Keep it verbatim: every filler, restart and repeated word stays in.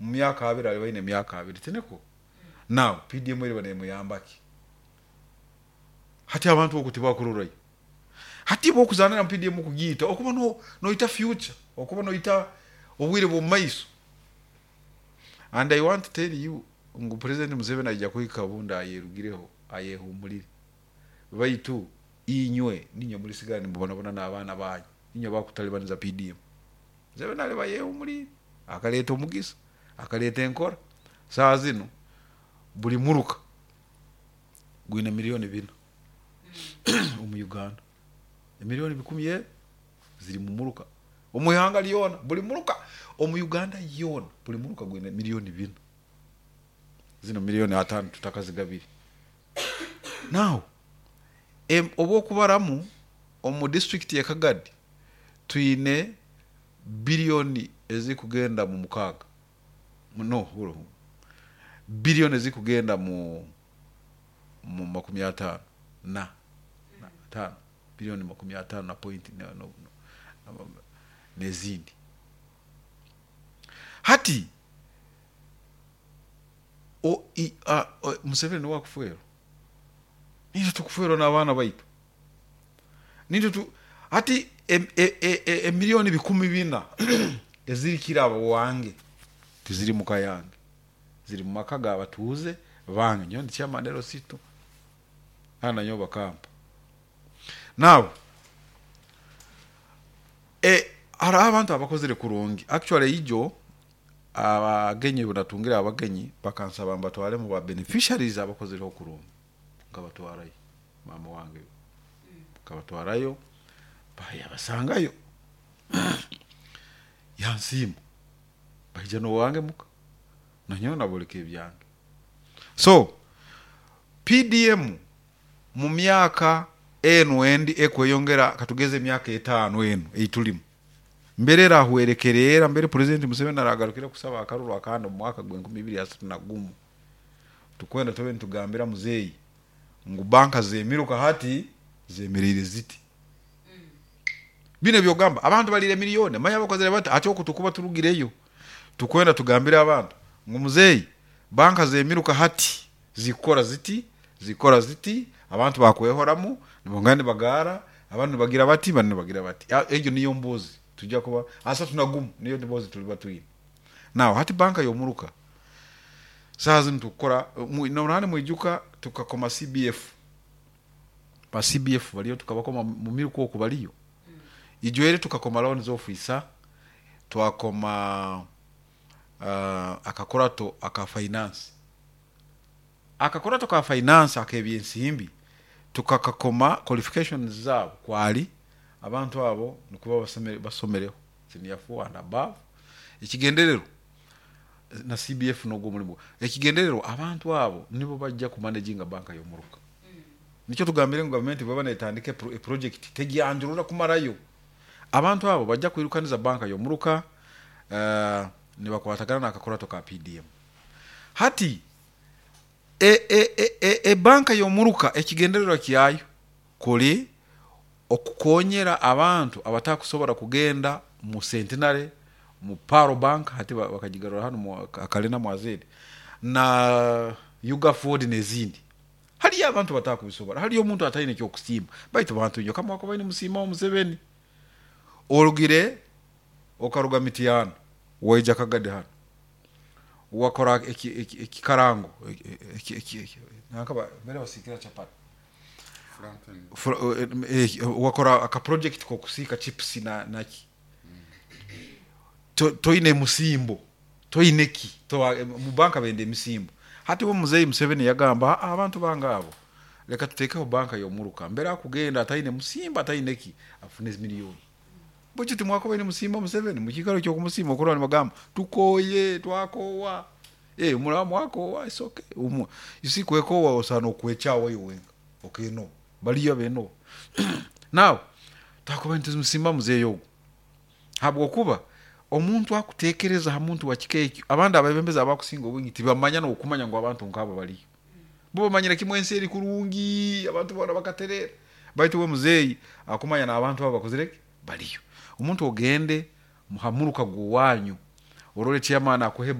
Mu myaka abiri aliba aine emyaka abiri, tiniko? Now P D M eriba nemuyamba ki? Hati abantu oku tibakurorayo. Hati bwokuzanira mu P D M kugiita, okuba no- noita future, okuba noita obwire bw'omu maiso. And I want to tell you ngu President Museveni aija kuhika obundi ayerugireho, ayehumulire, baitu inywe ninywe mulisigara nimubonabona n'abaana banyu, inywe bakutalibaniza P D M. Museveni aliba yehumulire, akaleeta omugisa, akaleeta enkora. Saaha zinu buli muruka gwine miliyoni bina omu Uganda, emiliyoni bikumi ebi ziri mu muruka omu ihanga lyona. Buli muruka omu Uganda yoona, buli muruka gwine miliyoni bina. Zino miliyoni ataano tutakazigabire. Now em- obwokubaramu omu disitulikiti ya Kagadi twine biliyoni ezikugenda mu mukaaga, no, biliyoni ezikugenda mu mu makumi ataano na na ataano, biliyoni makumi ataano na point na- no- no- n'ezindi. Hati o, i, a, o, Museveni niwe akufwerwa, nitwe tukufwerwa n'abaana baitu. Nitwe tu hati em- e- e- e- emiliyoni bikumi bina ezirikira abo wange tiziri muka yange, ziri mu maka g'abatuuze bange. Nyowe ndi chairman L C two hana, nanyowe bakampa. Now e, hariho abantu abakozire kurungi. Actually ijo abagenyi bunatungire abagenyi bakansaba mbatwaremu ba beneficiaries abakozireho kurungi, nkabatwarayo. Mama wange nkabatwarayo, bayabasangayo, yansiima, baija n'owange muka, nanyowe naboleka ebyange. So P D M mu myaka enu endi ekweyongera, katugeze emyaka etaano enu eitulimu, mbere erahwerekerera, mbere President Museveni aragarukira kusaba akaruru akandi omu mwaka gw'enkumi ibiri asatu na gumu, tukwenda tube nitugambira muzeeyi ngu banka zemiruka hati zemereire ziti. Bino ebyogamba abantu balire miliyoni manya bakozere bati. Hati oku tukuba turugireyo, tukwenda tugambire abantu ngu muzeeyi, banka zemiruka hati zikukora ziti, zikora ziti, abantu bakwehoramu nibongera nibagaara, abandi nibagira bati, bandi nibagira bati. Ah, egyo niyo mbuzi tujja kuba asatu na gumu, niyo mbuzi tuliba twine. Now hati banka y'omuruka saaha zinu tukukora norani mwijuka tukakoma C B F, ba C B F baliyo, tukabakoma mu miruka oku baliyo. Ijwere tukakoma loans officer, twakoma uh, akakurato aka finance, akakurato ka finance ak'ebyensimbi tukakakoma. Qualifications zaabo kwali abantu abo nikuba basomere, basomereho senior four and above. Ekigendererwa na C B F nogwo omulimu, ekigendererwa abantu abo nibo bajja kumanaginga banka y'omuruka. Nikyo tugambire ngu gavumenti bweba netandika epro- eproject tegyanjurura kumarayo. Abantu abo bajja kwirukaniza banka y'omuruka, uh, nibakwatagana n'akakurato ka P D M. Hati e, e, e, e, ebanka y'omuruka ekigendererwa kyayo kuli okukonyera abantu abatakusobora kugenda mu Centenary, mu Paro Bank, hati ba- bakagigarura hano mu Kalina Mwazedi na Ugaford n'ezindi. Hariyo abantu batakubisobora, hariyo omuntu ataine ekyokusiima. Baitu bantu nyo kamwako baine musiimaho Museveni. Orugire okaruga Mityana waija Kagadi hano, wakora eki- eki- ekikarango eki- eki- eki- nanka ba- mbere basiikira chapati. Fra- eh, eh, wakora aka project kokusiika chips na naki. To- toine musimbo, toine ki To- mu banka benda emisimbo. Hati we muzeeyi Museveni yagamba, "Ah, abantu bange abo leka tutekeho banka y'omuruka, mbere akugenda ataine musimbo, ataine ki, afune miliyoni." Bwekyo timwakubaine musiima Museveni? Mukikaro kyokumusiima okurora nibagamba tukoye, twakowa. Eh, muraba mwakowa, it's okay. Umu you see, kwekowa osana okwekyawa iwe wenka okenoba, baliyo abenoba. Now twakubaire nitumusiima muzeeyi ogu habwokuba omuntu akutekereza ha muntu wa kika ekyo. Abandi abebembezi abakusinga obwingi tibamanya n'okumanya ngu abantu nk'abo baliyo. Bo bamanyire kimwe ensi eri kurungi, abantu boona bakaterera, baitu we muzeeyi akumanya n'abantu abo bakozire ki, baliyo. Omuntu ogende hamuruka gw'owanyu orole chairman akuhe.